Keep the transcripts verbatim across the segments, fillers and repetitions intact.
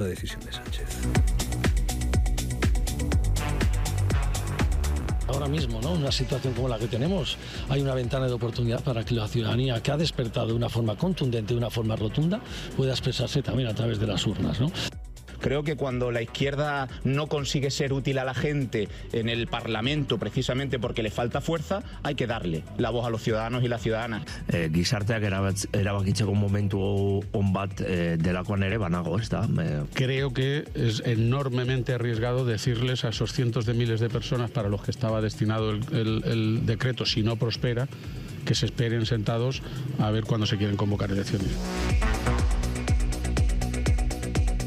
La decisión de Sánchez. Ahora mismo, ¿no? Una situación como la que tenemos, hay una ventana de oportunidad para que la ciudadanía, que ha despertado de una forma contundente, de una forma rotunda, pueda expresarse también a través de las urnas, ¿no? Creo que cuando la izquierda no consigue ser útil a la gente en el Parlamento, precisamente porque le falta fuerza, hay que darle la voz a los ciudadanos y las ciudadanas. Eh, gizarteak erabakitzeko momentu on bat eh, delakoan ere banago, ez da? Eh. Creo que es enormemente arriesgado decirles a esos cientos de miles de personas para los que estaba destinado el, el, el decreto, si no prospera, que se esperen sentados a ver cuándo se quieren convocar elecciones.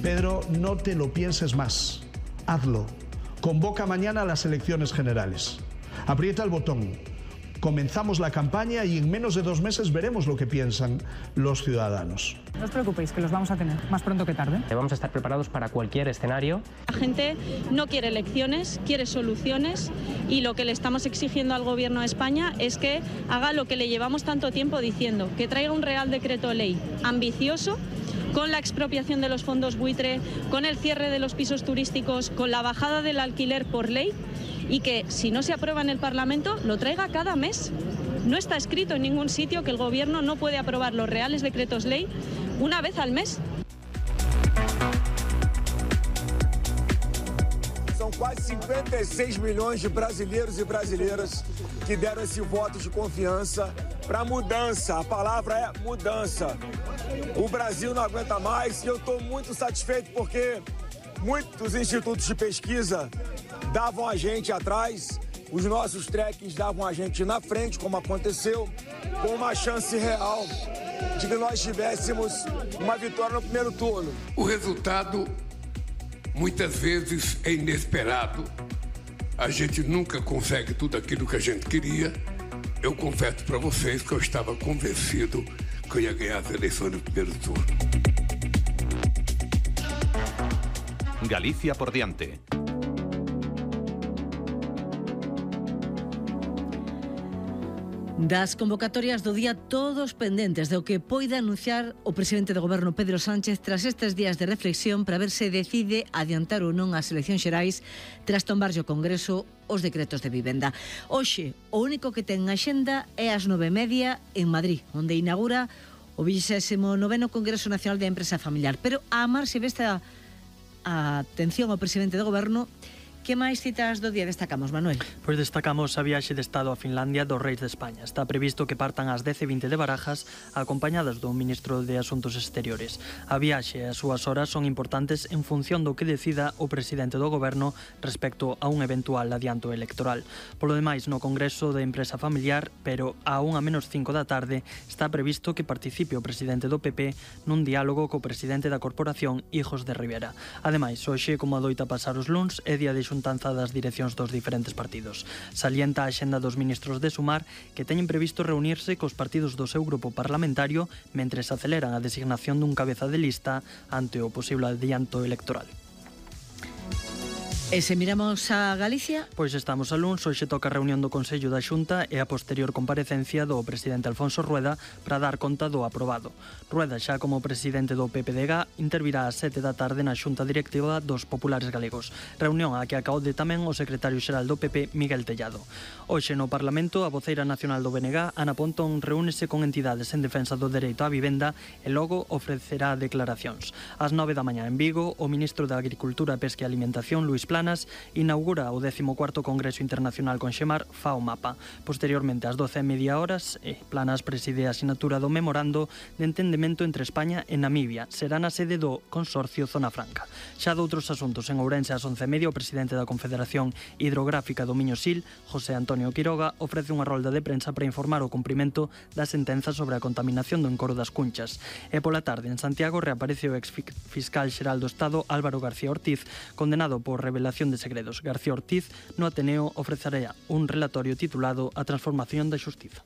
Pedro, no te lo pienses más. Hazlo. Convoca mañana las elecciones generales. Aprieta el botón. Comenzamos la campaña y en menos de dos meses veremos lo que piensan los ciudadanos. No os preocupéis, que los vamos a tener más pronto que tarde. Vamos a estar preparados para cualquier escenario. La gente no quiere elecciones, quiere soluciones, y lo que le estamos exigiendo al Gobierno de España es que haga lo que le llevamos tanto tiempo diciendo, que traiga un Real Decreto Ley ambicioso, con la expropiación de los fondos buitre, con el cierre de los pisos turísticos, con la bajada del alquiler por ley, y que si no se aprueba en el Parlamento lo traiga cada mes. No está escrito en ningún sitio que el Gobierno no puede aprobar los reales decretos ley una vez al mes. São quase cinquenta e seis milhões de brasileiros e brasileiras que deram esse voto de confiança para a mudança. A palavra é mudança. O Brasil não aguenta mais e eu estou muito satisfeito porque muitos institutos de pesquisa davam a gente atrás, os nossos trekkings davam a gente na frente, como aconteceu, com uma chance real de que nós tivéssemos uma vitória no primeiro turno. O resultado muitas vezes é inesperado. A gente nunca consegue tudo aquilo que a gente queria. Eu confesso para vocês que eu estava convencido que eu ia ganhar as eleições no primeiro turno. Galicia por diante. Das convocatorias do día, todos pendentes do que poida anunciar o presidente do Goberno Pedro Sánchez tras estes días de reflexión para ver se decide adiantar ou non as eleccións xerais tras tombarlle o Congreso os decretos de vivenda. Hoxe, o único que ten axenda é ás nove e media en Madrid, onde inaugura o vigésimo noveno Congreso Nacional de Empresa Familiar. Pero a marxe desta atención ao presidente do Goberno, que máis citas do día destacamos, Manuel? Pois destacamos a viaxe de Estado a Finlandia dos Reis de España. Está previsto que partan ás dez e vinte de Barajas, acompañadas do Ministro de Asuntos Exteriores. A viaxe e as súas horas son importantes en función do que decida o presidente do Goberno respecto a un eventual adianto electoral. Polo demais, no Congreso de Empresa Familiar, pero a unha menos cinco da tarde, está previsto que participe o presidente do P P nun diálogo co presidente da Corporación, Hijos de Rivera. Ademais, hoxe, como adoita pasar os luns, é día de xuntanza das direccións dos diferentes partidos. Salienta a axenda dos ministros de Sumar, que teñen previsto reunirse cos partidos do seu grupo parlamentario mentres aceleran a designación dun cabeza de lista ante o posible adianto electoral. E se miramos a Galicia? Pois estamos a luns, hoxe toca a reunión do Consello da Xunta e a posterior comparecencia do presidente Alfonso Rueda para dar conta do aprobado. Rueda, xa como presidente do P P D G, intervirá ás sete da tarde na Xunta Directiva dos Populares Galegos, reunión a que acaude tamén o secretario xeral do P P, Miguel Tellado. Hoxe no Parlamento, a voceira nacional do B N G, Ana Pontón, reúnese con entidades en defensa do dereito á vivenda e logo ofrecerá declaracións. Ás nove da mañá en Vigo, o ministro de Agricultura, Pesca e Alimentación, Luís Planas, inaugura o décimo cuarto Congreso Internacional con Xemar Fao Mapa. Posteriormente, ás doce e media horas, Planas preside a asinatura do memorando de entendemento entre España e Namibia. Será na sede do Consorcio Zona Franca. Xa doutros asuntos, en Ourense ás once e media, o presidente da Confederación Hidrográfica do Miño-Sil, José Antonio Quiroga, ofrece unha rolda de prensa para informar o cumprimento da sentenza sobre a contaminación do encoro das Cunchas. E pola tarde, en Santiago, reaparece o ex-fiscal xeral do Estado, Álvaro García Ortiz, condenado por revelación de segredos. García Ortiz no Ateneo ofrecerá un relatorio titulado A transformación da xustiza.